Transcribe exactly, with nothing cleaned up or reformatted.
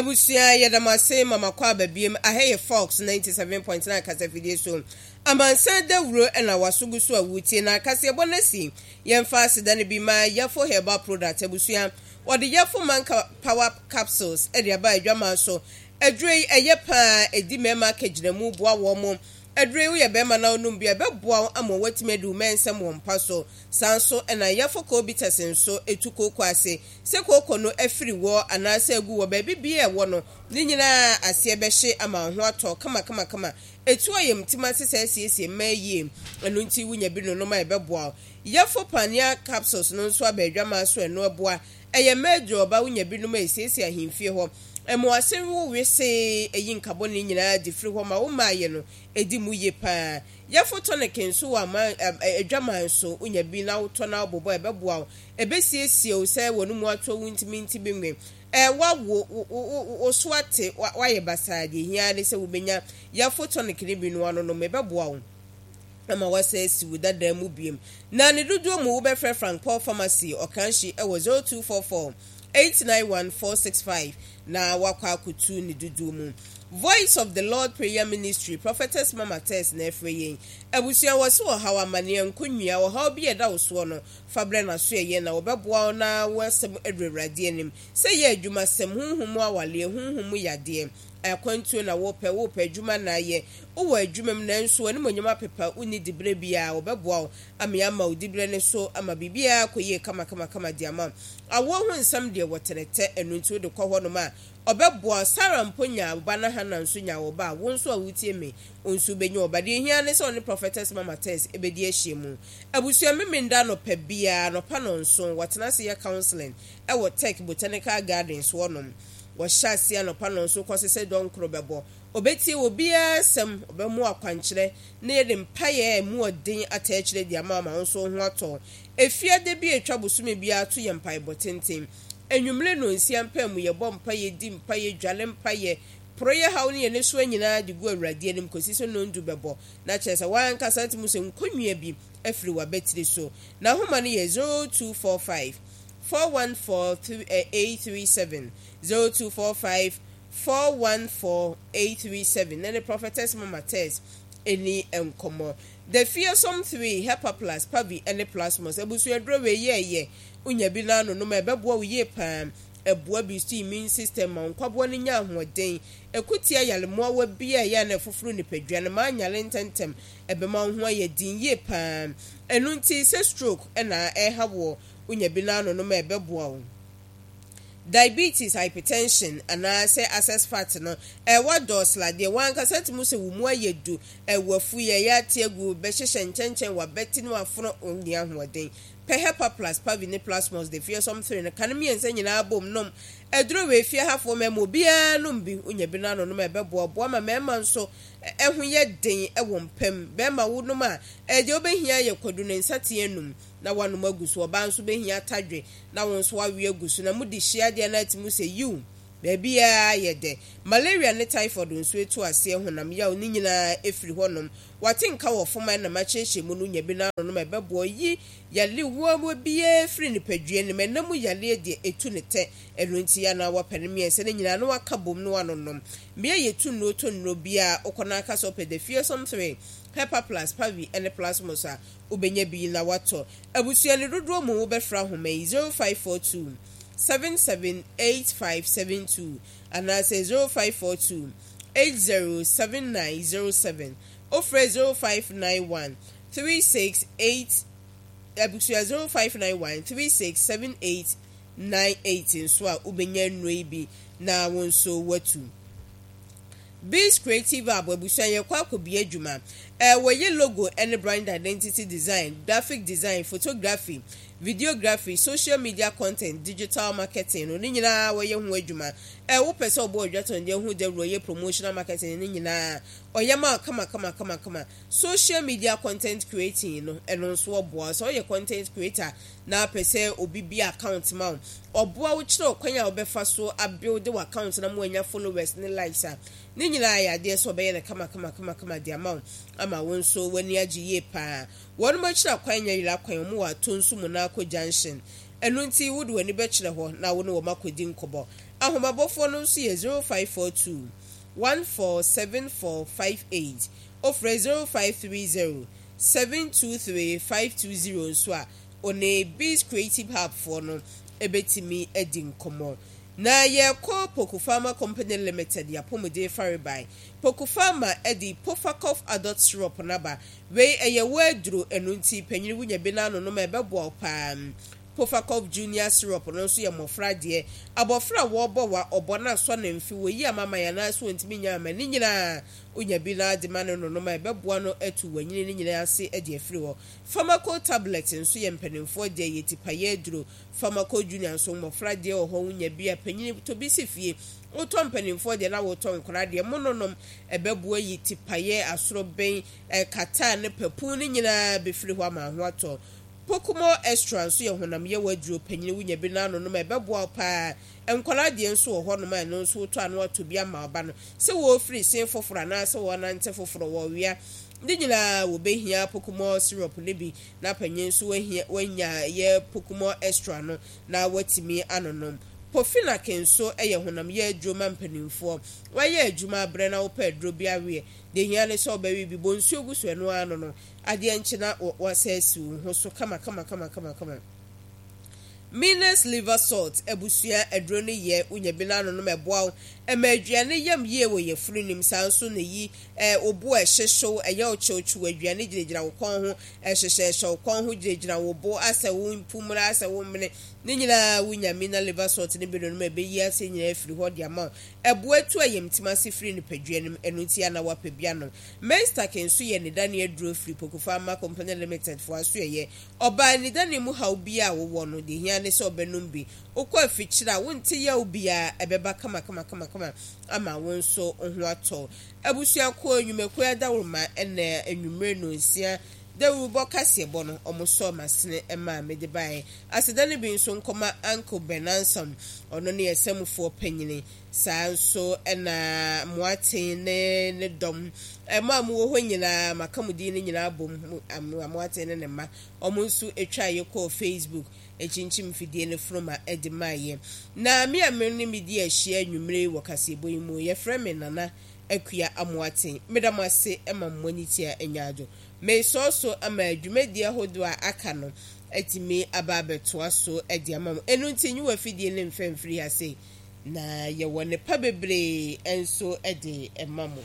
Abusua, yɛda mo ase ma makɔ aba biem. Aha yɛ Fox ninety-seven point nine kasafidie so. Amansan dawuro ɛna waso gu so a wotie na kaseɛbɔ no asi. Yɛmfa aseda no bi ma Yɛfo Herbal Product. Abusua, wɔde Yɛfo Manka Power Capsules ɛde aba adwaman so. Aduro yi ɛyɛ paa, ɛdi mmarima akagyinamu, boa wɔn mo. Aduro yi, woyɛ bɛrima na wonom bi a, ɛbɛboa wo ama watumi adi wo mɛnsɛm wɔ mpa so. Saa nso ɛna Yɛfo Cobitas nso ɛtu kooko ase sɛ kooko no afiri wɔ anaasɛ agu wɔ baabi bia ɛwɔ no ne nyinaa aseɛ bɛhye ama wo ho atɔ kamakamakama. Ɛtu ayamtim ase sɛ asiesie mmaa yie. Ɛno nti wonya bi nonom a, ɛbɛboa wo. Yɛfo Pania Capsules no nso aba adwaman so. Ɛno ɛboa, ɛyɛ mmaa aduro. Ɔba, wonya binom a, ɛsiesie ahemfie hɔ, ɛmo wo wesee, ɛyi nkabɔ ne nyinaa de firi hɔ ma wo mmaayɛ no ɛdi mu yie paa. Yɛfo Tonic nso wɔ ama adwaman so. Wonya bi na wotɔ na wobobɔ, ɛbɛboa wo, ɛbɛsiesie wo sɛ wɔn mu ato wo ntumi nti bi nwe ɛ wawo wo so ate wayɛ basaa. Deɛ hia ne sɛ wobɛnya Yɛfo Tonic ne bi no anonom, ɛbɛboa wo ama wasa asi wo dada mu biem. Na ne dodoɔ mu, wobɛfrɛ Frank Paul Pharmacy Ɔkanhye ɛwɔ zero two four four eight nine one four six five na wakɔ akotu ne dodoɔ mu. Voice of the Lord Prayer Ministry, Prophetess Mama Tess na ɛfrɛ yɛn. Abusua, wɔ so ɔhaw, amanneɛ, nkonnua, ɔhaw bi a ɛda wo soɔ no, fa brɛ n'aso ɛyɛ na wɔbɛboa wo na wɔasɛm aduru Awurade anim. Sɛ yɛ adwumasɛm, honhom mu awaleɛ, honhom mu yadeɛ, akwantuo na wopɛ, wopɛ adwuma na ayɛ, wowɔ adwuma mu nanso w'animonyam apepa, wonni diberɛ biara, wɔbɛboa wo ama ama wo diberɛ ne so ama biribiara kɔ yie kamakamakama de ama wo. Awoɔ ho nsɛm deɛ, wɔtenetɛ. Ɛno nti wode kɔ hɔnom a, ɔbɛboa. Sara mpo nya ɔba na Hana nso nya ɔba a, wo nso a wotie me wo nso wobɛnya ɔba. Deɛ hia ne sɛ ɔne Prophetess Mama Tess ɛbɛdi ahyia mu. Abusua, Memenda nɔpa biara nɔpa no nso wɔtena ase yɛ counseling ɛwɔ Tech Botanical Gardens hɔnom. Wɔhyɛ aseɛ anɔpa no nso kɔse sɛ dɔnkoro bɛbɔ. Ɔbɛtie obiara asɛm, ɔbɛmo akwankyerɛ na yɛde mpaeɛ a ɛmu ɔden ata akyerɛ de ama ama wo nso ho atɔ. Efiada bi a atwa bosome biara to yɛ mpaebɔ tenten. Enwumere no nsia mpa mu, yɛbɔ mpaeɛ, di mpaeɛ, dwale mpaeɛ, poro yɛ haw ne yɛn soa nyinaa de gu Awurade anim kɔsi sɛ nondu bɛbɔ. Na kyerɛ sɛ wankasa te mu sɛ nkonnua bi afiri w'abatiri so. Na ahoma no yɛ zero two four five four one four eight three seven, zero two four five four one four eight three seven, na ne Prophetess Mama Tess ɛni nkɔmmɔ. The Fearsome three, Hepa Plus, Pavi ne Plasmos. Abusuaduro wei yɛɛyɛ, wonya bi no anonom a, ɛbɛboa wo yie paa. Ɛboa bi so immune system ma nkwaboa no nya ahoɔden, ɛkutia yalemmoawa bi a ɛyɛ na ɛfoforo nipadua no ma anyale ntɛntɛm. Ɛbɛma wo ho ayɛ den yie paa. Ɛno nti sɛ stroke ɛna ɛha woɔ, wonya bi no anonom a, ɛbɛboa wo. Diabetes, hypertension anaasɛ excess fat no ɛwɔ dɔɔseladeɛ, wankasa tumi sɛ wo mu ayɛ du, ɛwɔ afu yɛ ɛyɛ ate agu, bɛhyehyɛ nkyɛnkyɛn, wabɛti no afono, onni ahoɔden. Pɛ Hepa Plus, Pavi ne Plasmos de Fearsome three no ka no mmiɛnsa nyinaa bom nom. Aduro wɔ efie hafoɔ, mmarima obiara nom bi. Wonya bi no anonom a, ɛbɛboa boa ma mmarima nso ɛho yɛ den ɛwɔ mpam. Bɛrima, wo nom a, ɛdeɛ wobɛhia yɛ kwadu ne nsateɛ num na wanom agu so. Ɔbaa nso bɛhia atadwe na wɔn nso awe agu so na mode hyia adeɛ no ati mu sɛ yiw, baabiara yɛ dɛ. Malaria ne typhoid nso etu aseɛ, honam yaw ne nyinaa efiri hɔnom. Wate nka wɔ fam a ɛnam akyerɛkyerɛ mu no, nya bi no anonom a, ɛbɛboa yi yale wɔn biara firi nipadua no mu. Ɛnam yaleɛ deɛ, etu ne tɛ. Ɛno nti yɛ anaa wɔpɛ no mmiɛnsa no nyinaa na waka bom no anonom. Mmea yɛtu nnuro to nnuro biara, wokɔ no aka sɛ wopɛ The Fearsome three, Hepa Plus, Pavi ne Plasmos a, wobɛnya bi na watɔ. Abusua, no dodoɔ mu, wobɛfra ahoma yi zero five four two seven seven eight five seven two anaasɛ zero five four two eight zero seven nine zero seven. Wofrɛ zero five nine one three six eight, abusua, zero five nine one three six seven eight nine eight nso a, wobɛnya nnuro yi bi na wo nso watu. Biz Creative App, abusua, yɛ kɔ akɔbea adwuma. Ɛɛ wɔyɛ logo ne brand identity design, graphic design, photography, videography, social media content, digital marketing no ne nyinaa wɔyɛ ho adwuma. Ɛɛ wopɛ sɛ ɔbɔ odwatɔndeɛ ho dawuro, yɛ promotional marketing ne nyinaa, ɔyɛ ma kama kama kama kama. Social media content creating no, ɛno nso ɔboa. Sɛ ɔyɛ content creator na apɛ sɛ obi bi account ma wo, ɔboa wo kyerɛ ɔkwan a wobɛfa so abuild wɔ account na mo anya followers ne likes a, ne nyinaa yɛ adeɛ sɛ ɔbɛyɛ no kama kama kama kama de ama wo ama wo nso w'ani agye yie paa. Wɔn mo akyerɛ akwan nyɛ yera kwan. Wɔn wɔ ato nso mu n'akɔ junction. Ɛno nti wode w'ani bɛkyerɛ hɔ na wo ne wɔn akɔdi nkɔbɔ. Ahomabɔfoɔ no nso yɛ zero five four two one four seven four five eight. Wofrɛ zero five three zero seven two three five two zero nso a, ɔne Biz Creative Hub foɔ no bɛtumi adi nkɔmmɔ. Na yɛrekɔ Poku Pharma Company Limited y'apɔmuden farebae. Poku Pharma de Pofacov Adult Syrup no aba. Wei ɛyɛ wo aduro, ɛno nti panyini wonya bi na anonom a ɛbɛboa wo paa. Pofacov Junior Syrup no nso yɛ mmɔfra deɛ. Abɔfra a wɔrebɔ wa, ɔbɔ no asɔ ne mfe, wɔyi amaman anaasɛ ɔntumi nya ama, ne nyinaa wonya bi na de ma no nonom a ɛbɛboa no atu wanyini no nyinaa ase de afiri hɔ. Pharmaco Tablet nso yɛ mpanimfoɔ deɛ, ɛyɛ tipaeɛ aduro. Pharmaco Junior nso mmɔfra deɛ wɔ hɔ, wonya bi a panyini tɔ bi si fie. Wotɔ mpanimfoɔ deɛ na wotɔ nkwadaa deɛ, mononom ɛbɛboa yi tipaeɛ, asorobɛn, kataa ne papu no nyinaa bɛfiri hɔ ama ho atɔ. Pokumol Extra nso yɛ honam yaw aduro panyin, wonya bi na anonom a ɛbɛboa wo paa. Nkwadaa deɛ nso wɔ hɔnom a ɛno nso wotɔ a na watɔ bi ama wo ba no. Sɛ wɔrefiri sen foforɔ anaasɛ wɔrenante foforɔ, wɔrewea, ne nyinaa wɔbɛhia Pokumol syrup no bi na panyin nso wahia, wanya yɛ Pokumol Extra no na watumi anonom. Pofinac nso yɛ honam yaw aduro ma mpanimfoɔ. Woayɛ adwuma abrɛ na wopɛ aduro bi aweɛ, deɛ ehia ne sɛ wobɛwe bi, bɔ nsuo gu so ɛno ara ano no. Adeɛ nkye na wɔasɛ asi wo ho so kama kama kama kama kama. Minas liver salt abusua aduro no yɛ wonya bi na anonom ɛboa wo ɛma aduane yam yie wɔ yafunu nim, saa nso na ɛyi ɛ wo bo a ɛhyehyew, ɛyɛ wo kyewkyew, aduane gyinagyina wo kɔn ho, ɛhyehyɛhyɛ wo kɔn ho, gyinagyina wo bo asɛ wo mpumura asɛ wo mene, ne nyinaa wonya Mina liver salt no bi nonom a ɛbɛyi aseɛ nyinaa afiri hɔ de ama wo. Ɛboa tu ayamtim ase firi nipadua no mu, ɛno nti a na woapɛ bi anom. Menstac nso yɛ anidane aduro firi Poku Pharma Company Limited foɔ asoɛeɛ. Ɔbaa anidane mu haw biara a wowɔ no, deɛ ɛhia ne sɛ wobɛnom bi. Wokɔ afikyire a, wonte yaw biara, ɛbɛba kamakamakama ama wo nso wo ho atɔ wo. Abusuakuo, nnwumakuo adaworoma ɛna anwummere nnɔnsia dawurubɔ kaseɛbɔ no, wɔsɔɔ m'asene maa mede baeɛ. Aseda no bi nso nkɔma Uncle Ben Ansam, ɔno ne yɛn samufoɔ panyini. Saa nso na Moaten ne ne dɔm, mo a mowɔ hɔ nyinaa, maka mo din no nyinaa abom, Amoaten ne ne mma, wɔn nso twaa yɛ kɔɔ Facebook kyinkyim mfidie no funuma de maa yɛ. Na me a me ne me di ahyia anwummere yi wɔ kaseɛbɔ yi mu, yɛfrɛ me Nana Akua Amoaten. Meda mo ase ma mo ani tia nyaadwo. Mesɔɔ so ama dwumadie ahodoɔ a aka no atumi aba abɛtoa so de ama mo. Ɛno nti, nyi w'afidie no mfa mfiri ha sei. Na yɛwɔ nnepa bebree nso de ma mo.